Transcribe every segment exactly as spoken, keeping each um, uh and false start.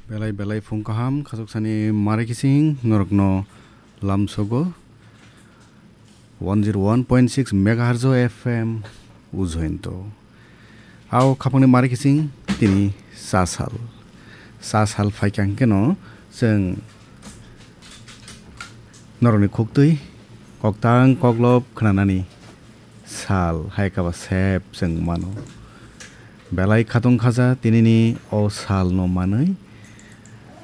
Belai belai phung kaham, khasok sani mari kising norokno lamsogo one zero one point six megahertz F M ujointo. Ao khapangni mari kising tini sa sal. Sa sal phaikha hwnkhe no chwng norokni khuktwi koktang koklop khnanani sal hai kaba sep chwng mano. Belai khatong khaja tinini o salno manwi.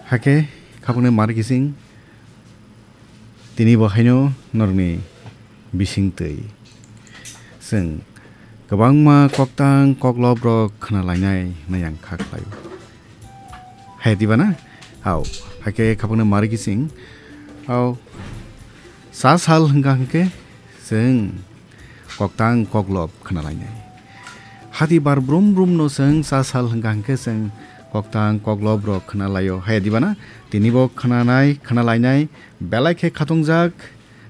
Hakhe khapangni mari kising tini bo haino norokni bisingtwi chwng kwbangma koktang koklop rok khna lainai hwnwi ang kha khlaio. Hai diba na? Ao, hakhe khapangni mari kising. Ao, sa sal hwnkha hwnkhe chwng koktang koklop khna lainai. Hati bar brum brum no chwng sa sal hwnkha hwnkhe chwng koktang koklop rok khna laio. Hai diba na? Tini bo khnanai, khna lainai, belai khe khatungjak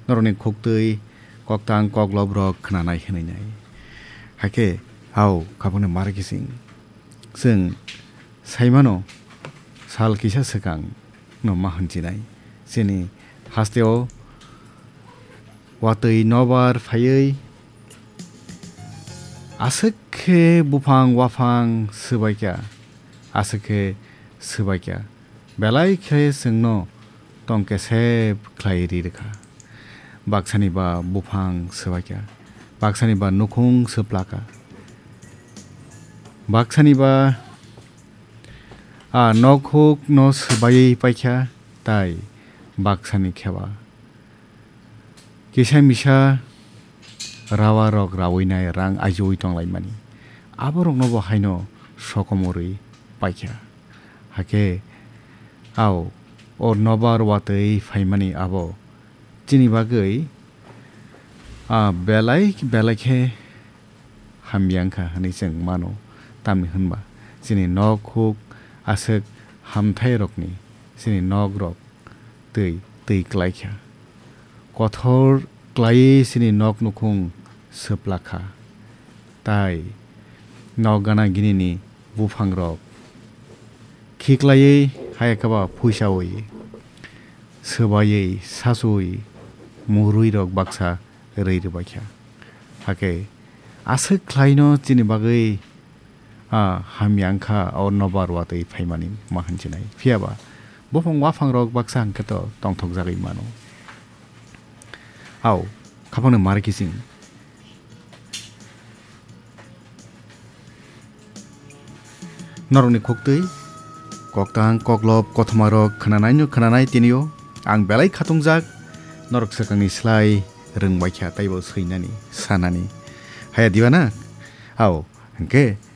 norokni khuktwi koktang koklop rok khnanai hwnwi nai. Hakhe ao khapangni mari kising. Chwng saimano sal kisa swkang no ma hwnjinai. Chini hasteo watwi nobar phaiwi aswk khe buphang waphang swbaikha, aswk khe swbaikha. Belai khe chwngno tongkesep khlai ri rwkha. Baksani ba buphang swbaikha, baksani ba nukhung swplakha, baksani ba a nokhuk no swbaiwi paikha, tai baksani kheba kisa misa rawa rok rawi nai rang ajiwi tonglaimani. Aborokno bo haino sokomorwi paikha. Hakhe ao o nobar watwi phaimani abo chini bagwi a belai belai khe hamya wngkha hwnwi chwng mano. Tamni hwnba chini nok huk aswk hamthairokni chini nok rok twi twi klaikha. Kothor klaiwi chini nok nukhung swplakha. Tai nok gana ginini buphangrok khiklaiwi hai khe ba phuisawi swbaiwi sachuwi mwrwirok baksa rwi rwbaikha. Hakhe aswk khlaino chini bagwi a hamya wngkha o nobar watwi phaimani ma hwnjinai. Phiyaba buphang waphangrok baksa hwnkhe to tongthokjagwi mano. Ao, khapangni mari kising. Norokni khuktwi koktang koklop kothomarok khnanaino khnanai tinio ang belai khatungjak, norok swkangni slai rwngbaikha taibo swinani sanani. Haya diba na? Ao, hwnkhe